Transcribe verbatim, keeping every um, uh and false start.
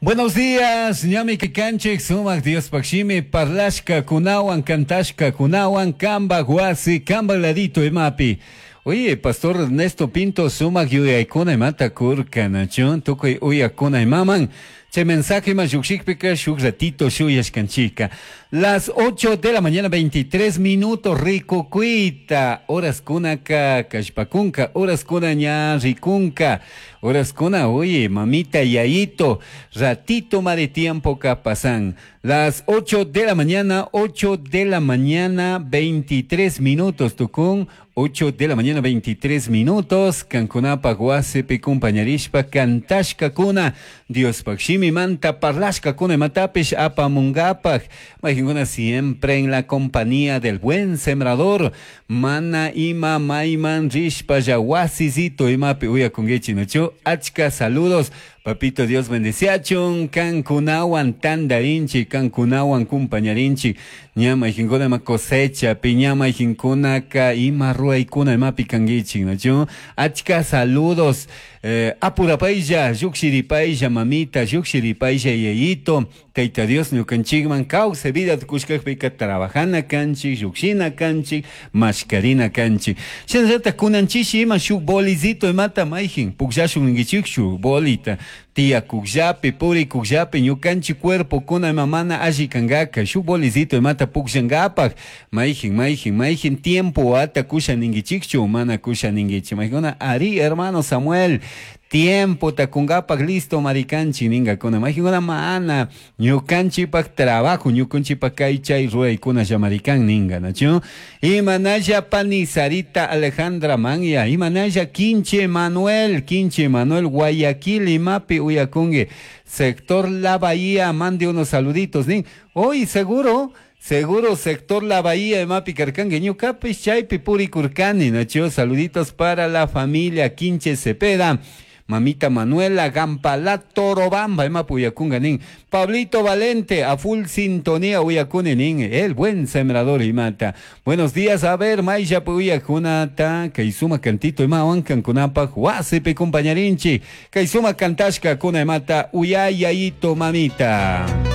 Buenos días, ñami kanchik sumak Diospaj shimi parlashka kunawan kantashka kunawan kamba wasi kamba ladito imapi. Oye, Pastor Ernesto Pinto sumak yuyaykuna imata kurka nachun tukuy uyakuna imaman. Chay mensaje ima llukshikpika shuk ratito shuyashkanchika. Las ocho de la mañana veintitrés minutos rikukuita. Horas kunaka kashpakunka, horas kuna ña rikunka. Horas kuna, oye, mamita yayito, ratito ma de tiempo ka pasan. Las ocho de la mañana, ocho de la mañana, veintitrés minutos, tukun. ocho de la mañana, veintitrés minutos. Kankunapa wasipi kumpañarishpa kantashka kuna. Diospaj shimimanta parlashka kuna imatapish apamungapaj. Mayqinkuna siempre en la compañía del buen sembrador. Mana ima mayman rishpa ya wasisito imapi uyakunkichik nachu. Achka saludos. Papito Dios bendeciachun, kankunawan tandarinchi, kankunawan kumpañarinchi. Ña mayqinkuna ima cosecha, piña mayqinkunaka ima ruwaykuna imapi kankichik nachu. Achka saludos. Eh, apurapaylla, llukshiripaylla mamita, llukshiripaylla yayito. Tayta Dios ñukanchikman kawsay vida tukushkakpika trabajana kanchik, llukshina kanchik, mashkarina kanchik. Shinallata kunanchishi ima shuk bolizito imata mayjin, pukllashun ninkichikchu bolita. Tiyakukllapi, purikukllapi, ñukanchik cuerpo kuna ima mana alli kankaka, shuk bolizito imata pukllankapak, mayjin, mayjin, mayjin tiempo ata kusha ninkichikchu, mana kusha ninkichik. Mayjina, ari hermano Samuel, tiempo takungapak listo marikanchi ningakuna. Mayjinkuna mana ñukanchipak trabajo, ñukanchipak kay chay ruwaykuna llamarikan ninga, nachu? Imanalla pani Sarita Alejandra Manya, imanalla Quinche Manuel, Quinche Manuel Guayaquil imapi uyakungi, sector La Bahía, mande unos saluditos, nin. Hoy seguro, seguro sector La Bahía imapi karkangi, ñukapish chaypi purikurkani, nachu? Saluditos para la familia Quinche Cepeda. Mamita Manuela Gampala Torobamba, ima puyakunga nin. Pablito Valente, a full sintonía uyakune nin. El buen sembrador imata. Buenos días, a ver, Maya puyakunata, kaisuma cantito ima wankan kunapa, wasipi compañarinchi. Kaisuma kantashka kuna imata, uyayayito mamita.